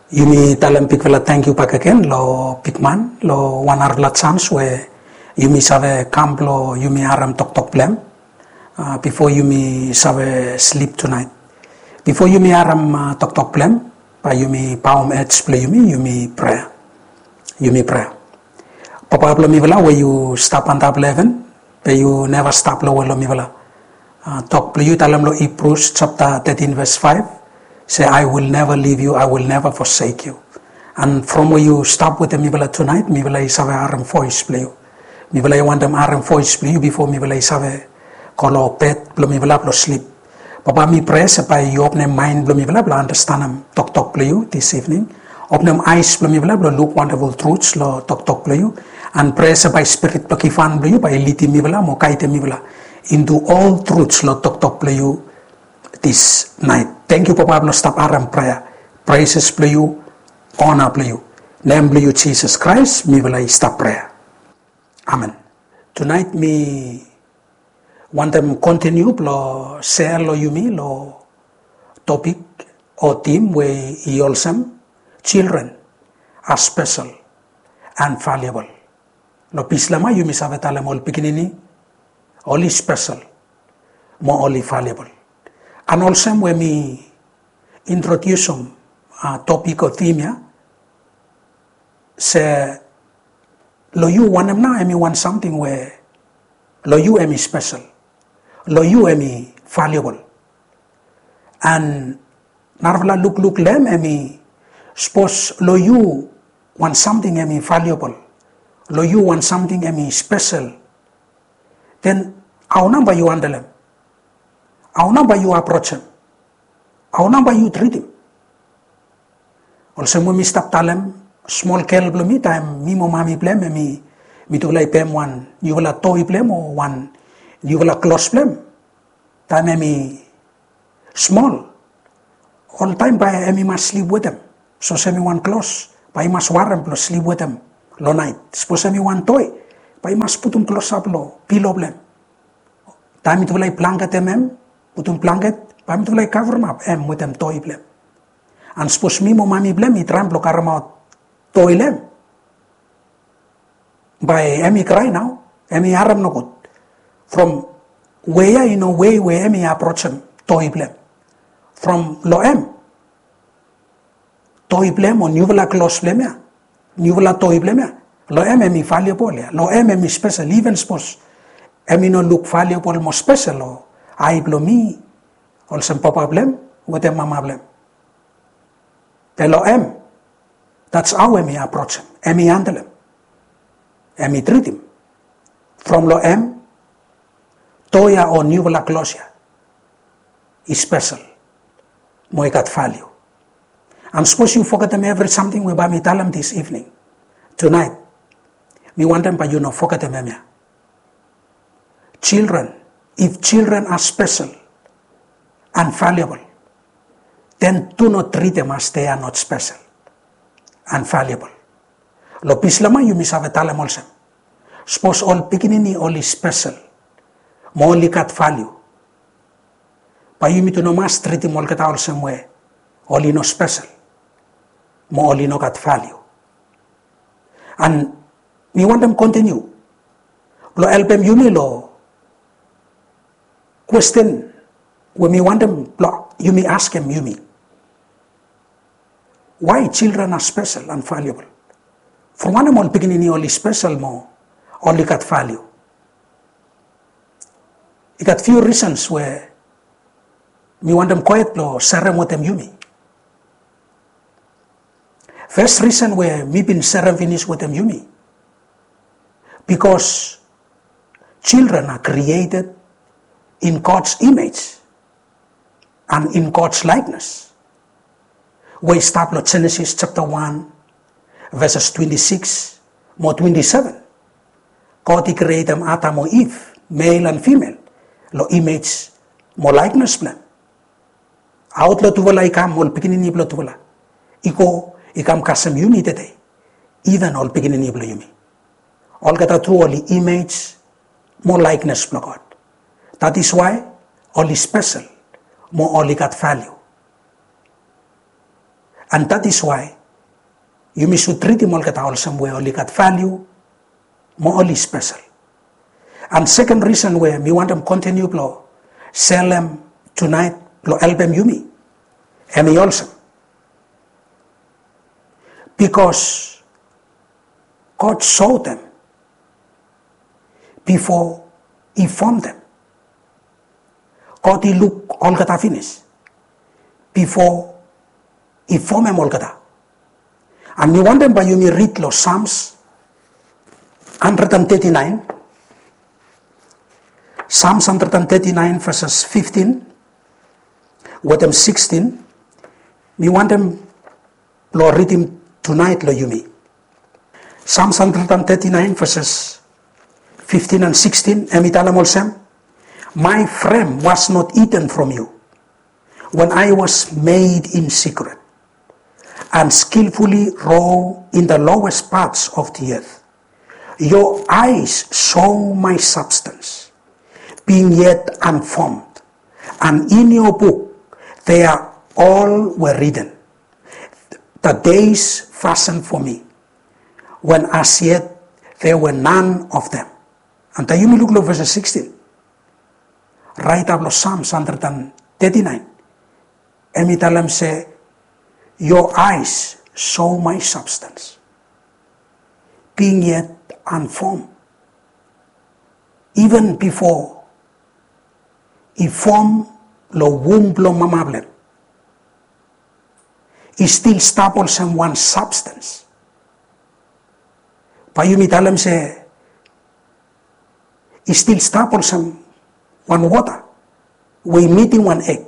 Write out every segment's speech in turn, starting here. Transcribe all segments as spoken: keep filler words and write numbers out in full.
Yumi talem bigfala tangkiu bakegen lo bigman lo wan narafala jans we yumi save kam blo yumi harem toktok blong hem, ah, bifo yumi save slip tunaet. Bifo yumi harem, ah, toktok blong hem, bae yumi baom hed blo yumi, yumi prea. Yumi prea. Papa blo mifala we yu stap antap lo heven, be yu neva stap lowe lo mifala. Ah, tok blo yu talem lo Hebrews japta tetin ves faef se, "I will never leave you, I will never forsake you." And from we yu stap wetem mifala tunaet, mifala i save harem voes blo yu. Mifala i wantem harem voes blo yu bifo mifala i save go lo bed blo mifala blo slip. Papa, mi prea se bae yu openem maen blo mifala blo andastanem toktok blo yu this evening. Openem aes blo mifala blo luk wonderful truths lo toktok blo yu. And prea se bae spirit blo givhan blo yu bae i lidim mifala mo gaedem mifala into all truths lo toktok blo yu this night. Tangkiu Papa blo stap harem prea. Praises blo yu, ona blo yu. Nem blo yu Jisas Kraes mifala i stap prea. Amen. Tunaet mi wantem kontiniu blo sea lo yumi lo topik o tim we i olsem, children are special and valuable. Lo Bislama yumi save talem ol pikinini oli spesel mo oli valuable. And olsem we mi introdiusim, ah, topik o tim ya, se lo yu wanem nao hemi wan samting we lo yu hemi spesel, lo yu hemi valuable. And narafala lukluk lo hem hemi, sapos lo yu wan samting hemi valuable, lo yu wan samting hemi spesel, then hao nao bae yu handlem? Hao nao bae yu aprojem? Hao nao bae yu tritim? Olsem we mi stap talem, smol gel blo mi, taem mi mo mami blo hem hemi, mitufala i pem wan niufala toi blo hem o wan niufala klos blo hem, taem hemi smol, oltaem bae hemi mas slip wetem. Sapos hemi wan klos, bae i mas warem blo slip wetem lo naet. Sapos hemi wan toi, bae i mas putum klosap lo pilo blo hem. Taem mitufala i blanketem hem, putum blanket, bae mitufala i kavremap hem wetem toi blo hem. And sapos mi mo mami blo hem i traem blo karemaot toi lo hem, bae hemi krae nao, hemi harem nogud. From wei ya i no wei we hemi aprojem toi blo hem. From lo hem, toi blo hem o niufala klos blo hem ya, niufala toi blo hem ya, lo hem hemi valuable ya, lo hem hemi spesel, even sapos hemi no luk valuable mo spesel lo ae blo mi olsem papa blo hem wetem mama blo hem. Be lo hem, that's hao hemi aprojem, hemi handlem, hemi tritim. From lo hem, toi ya o niufala klos ya i spesel mo i gat valiu. And sapos yu fogetem evri samting we bae mi talem this evening, tunaet, mi wantem bae yu no fogetem hemia. Children, if children are special and valuable, then do not treat them as they are not special and valuable. Lo Bislama yumi save talem olsem, sapos ol pikinini oli spesel mo oli gat valiu, bae yumi tu no mas tritim olgeta olsem we oli no spesel mo oli no gat valiu. And mi wantem kontiniu blo helpem yumi lo kwesten we mi wantem blo yumi askem yumi. Why children are special and valuable? From wanem ol pikinini oli spesel mo oli gat valiu? I gat few reasons we mi wantem gohed blo serem wetem yumi. First reason we mi bin serem finis wetem yumi, because children are created in God's image and in God's likeness. We i stap lo Genesis japta wan, veses twenti sikis mo twenti seven. God i krietem Adam mo Iv, male and female, lo image mo likeness blo hem. Aot lo tufala i kam ol pikinini blo tufala, i go i kam kasem yumi tede, iven ol pikinini blo yumi. Olgeta tu oli image mo likeness blo God. That is why oli spesel mo oli gat valiu. And that is why Yumi sud tritim olgeta olsem we oli gat valiu mo oli spesel. And seken risen we mi wantem kontiniu blong selem tunaet blong helpem yumi, hemi olsem, bikos God sotem bifo i fomtem. God i luk olgeta finis bifo i fomem olgeta. And mi wantem bae yumi rid long Psalms hundred and thirty-nine. Psalms hundred and thirty-nine, verses fifteen wetem sixteen. Mi wantem blong ridim tunaet long yumi. Psalms hundred and thirty-nine, verses fifteen and sixteen, hemi talem olsem, "My frame was not hidden from you when I was made in secret and skillfully wrought in the lowest parts of the earth. Your eyes saw my substance, being yet unformed, and in your book they are all were written, the days fashioned for me, when as yet there were none of them." And taem yumi luk long verses sixteen, raeta blong Psalms hundred and thirty-nine, hemi talem se, "Your eyes saw my substance, being yet unformed." Even bifo i fom long wum blong mama blong hem, i stil stap olsem wan substance. Bae yumi talem se i stil stap olsem wan wota we i mitim wan eg.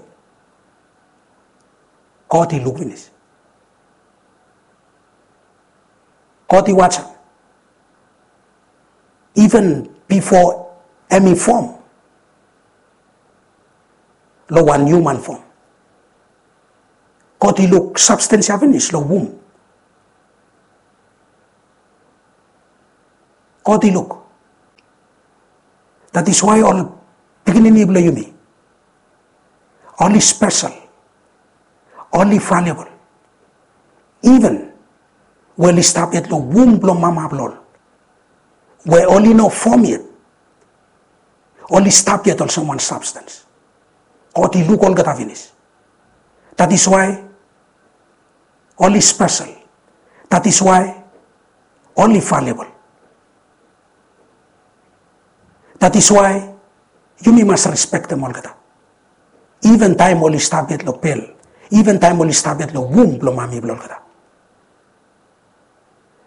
God i luk finis. God i wajem. Even bifo hemi fom long wan hiuman fom, God i luk substance ya finis long wum. God i luk. That is why ol pikinini blong yumi, oli spesel, oli valuable. Even we oli stap yet long wum blong mama blong ol, we oli no fom yet, oli stap yet olsem wan substance. God i luk olgeta finis. That is why oli spesel. That is why oli valuable. That is why yumi mas respektem olgeta. Even taem oli stap yet long bel, even taem oli stap yet long wum blong mami blong olgeta.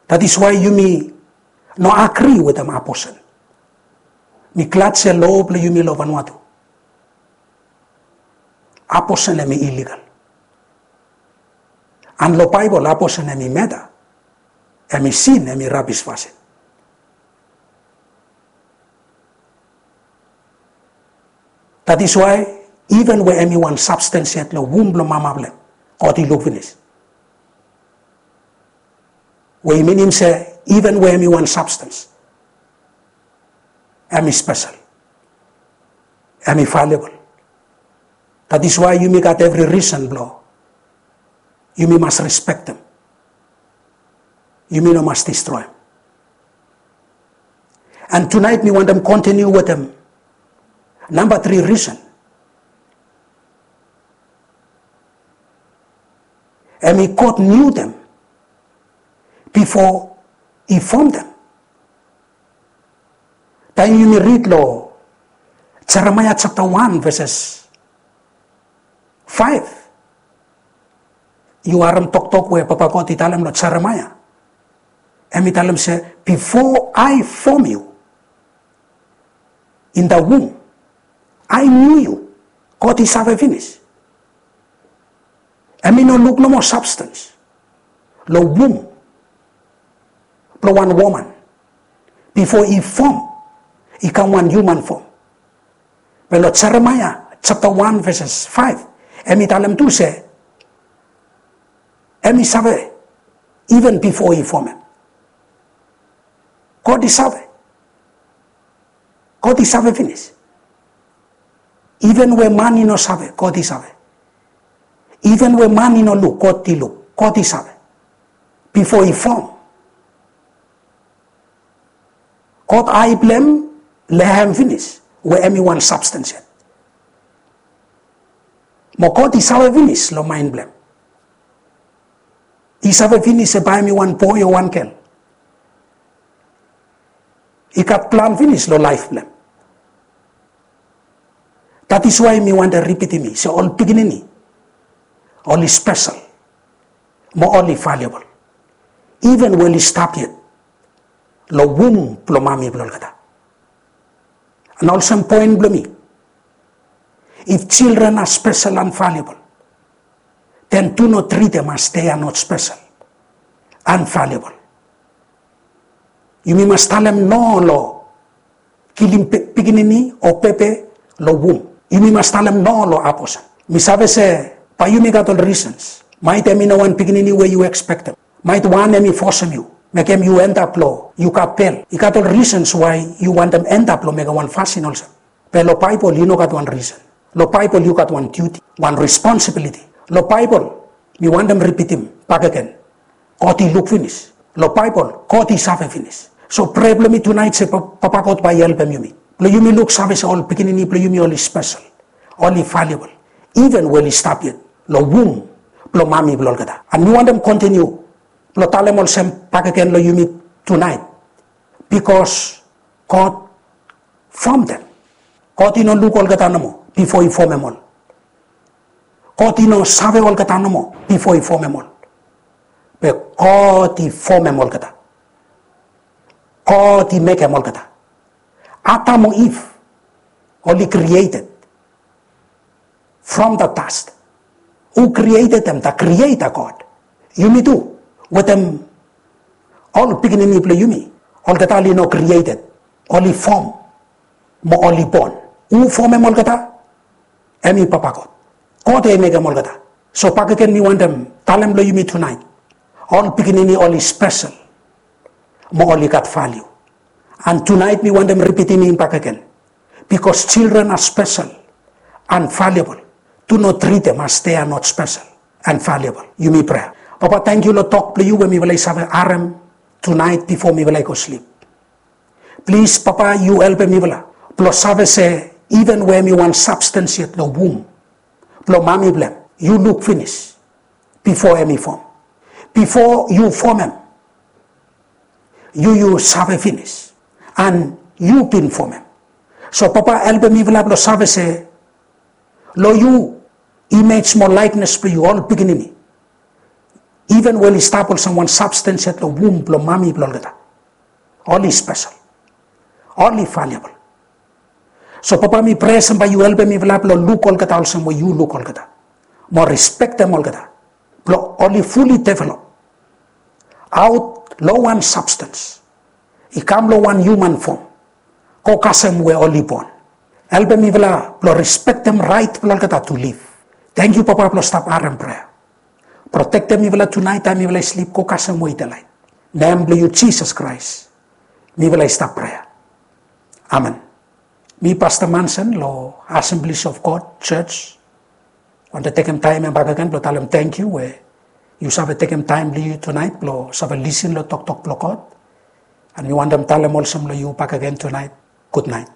That is why yumi no agri wetem abortion. Mi glad se lo blong yumi long Vanuatu, abortion hemi illegal. And long Baebol, abortion hemi murder, hemi sin, hemi rabis fasin. That is why even we hemi wan substance yet long wum blong mama blong hem, God i luk finis. We i minim se even we hemi wan substance, hemi spesel, hemi valuable. That is why yumi gat evri risen blong yumi mas respektem. Yumi no mas distroem. And tunaet mi wantem kontiniu wetem namba tri risen. Hemi God niu dem bifo i fom dem. Taem yumi rid long Jeremaia japta wan, veses faef, yu harem toktok we Papa God i talem long Jeremaia. Hemi talem se, "Before I form you in the womb, I knew you." God i save finis. Hemi no luk nomo substance long wum blong wan woman bifo i fom, i kam wan hiuman fom. Be long Jeremaia japta wan veses faef, hemi talem tu se hemi save even bifo i fomem. God i save. God i save finis. Even we man i no save, God i save. Even we man i no luk, God i luk, God i save. bifo i fom. God ae blong hem long hem finis we hem i wan substance yet. Mo God i save finis long maen blong hem. I save finis se bae hem i wan boe o wan gel. I gat plan finis long laef blong hem. That is why mi wantem ripitim se ol pikinini oli spesel mo oli valuable. Even we oli stap yet long wum blong mami blong olgeta. And olsem poen blong mi, if children are special and valuable, then do not treat them as they are not special and valuable. Yumi mas talem no long kilim pikinini o bebe long wum. Yumi mas talem no long abortion. Mi save se bae yumi gat ol reasons. Maet hem i no wan pikinini we yu expectem. Maet wan hem i fosem yu, mekem yu endap long yu gat bel. I gat ol reasons why yu wantem endap long mekem wan fasin olsem. Be long Baebol i no gat wan reason. Long Baebol yu gat wan duty, wan responsibility. Long Baebol, mi wantem ripitim bakegen, God i luk finis. Long Baebol God i save finis. So prea blong mi tunaet se Papa God bae i helpem yumi blong yumi luksave se ol pikinini blong yumi oli spesel, oli valuable, even we oli stap yet long wum blong mami blong olgeta. And mi wantem kontiniu blong talem olsem bakegen long yumi tunaet, bikos God fomdem. God i no luk olgeta nomo bifo i fomem ol. God i no save olgeta nomo bifo i fomem ol. Be God i fomem olgeta. God i mekem olgeta. Adam o Iv oli created from the dust. Hu created them? The Creator God. Yumi tu, wetem ol pikinini blong yumi, olgeta oli no created, oli fom mo oli bon. Hu fomem olgeta? Hem i Papa God. God i mekem olgeta. So bakegen mi wantem talem long yumi tunaet, ol pikinini oli spesel mo oli gat valiu. And tunaet mi wantem ripitim bakegen, bikos children are special and valuable. Do not treat them as they are not special and valuable. Yumi prea. Papa, tangkiu long tok blong yu we mifala i save harem tunaet bifo mifala i go slip. Plis Papa, yu helpem mifala blong save se even we hem i wan substance yet long wum blong mami blong hem, yu luk finis bifo hem i fom. Bifo yu fomem, yu yu save finis, and yu bin fomem. So Papa, helpem mifala blong save se long yu, image mo likeness blong yu, ol pikinini, even we oli stap olsem wan substance yet long wum blong mami blong olgeta, oli spesel, oli valuable. So Papa, mi prea se bae yu helpem mifala blong luk olgeta olsem we yu luk olgeta, mo respektem olgeta, blong oli fully develop aot long wan substance i kam long wan human form, go kasem we oli bon. Helpem mifala blong respektem raet blong olgeta to live. Tangkiu Papa blong stap harem prea. Protektem mifala tunaet taem mifala i slip, go kasem we i delaet. Nem blong yu Jisas Kraes mifala i stap prea. Amen. Mi Pasta Manson long Assemblies of God Church wantem tekem taem ya bakegen blong talem tangkiu we yu save tekem taem blong yu tunaet blong save lisin long toktok blong God. And mi wantem talem olsem long yu bakegen tunaet, gutnaet.